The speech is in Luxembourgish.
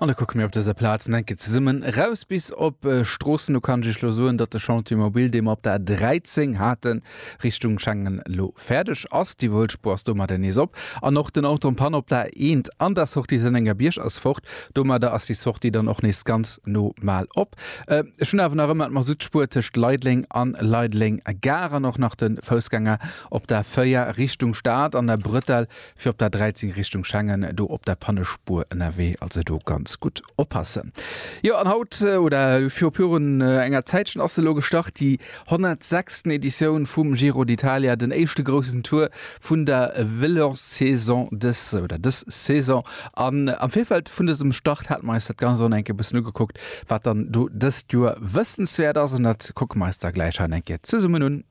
An da kucke mir op dëser Plaz nach eng Kéier zesummen eraus bis op Stroossen. Do kann ech Iech elo soen, datt de Chantier mobile, dee mer op der 13 haten, Richtung Schengen elo fäerdeg ass. Déi Wuelspuer ass domadder nees op. An och den Auto en panne op der 1 an der Sortie Sennengerbierg ass fort. Domadder ass déi Sortie dann och nees ganz normal op. Ech hunn awer nach ëmmer d'Masuttspuer tëscht Leideleng an Leideleng Gare an och nach de Foussgänger op der 4 Richtung Stad an der Bretelle fir op der 13 Richtung Schengen do op der Pannespuer ënnerwee, also do ganz gutt oppassen. Jo an haut oder viru virun enger Zäitchen ass se elo gestart, déi 106. Editioun vum Giro d'Italia, den éischte groussen Tour vun der Vëlossaison dës oder dës Saison. An am Virfeld vun dësem Start hate mer eis dat Ganzt och nach eng Kéier e bëssen ugekuckt, wat dann do dëst Joer wëssenswäert ass an dat kucke mer eis da gläich hei nach eng Kéier zesummen un.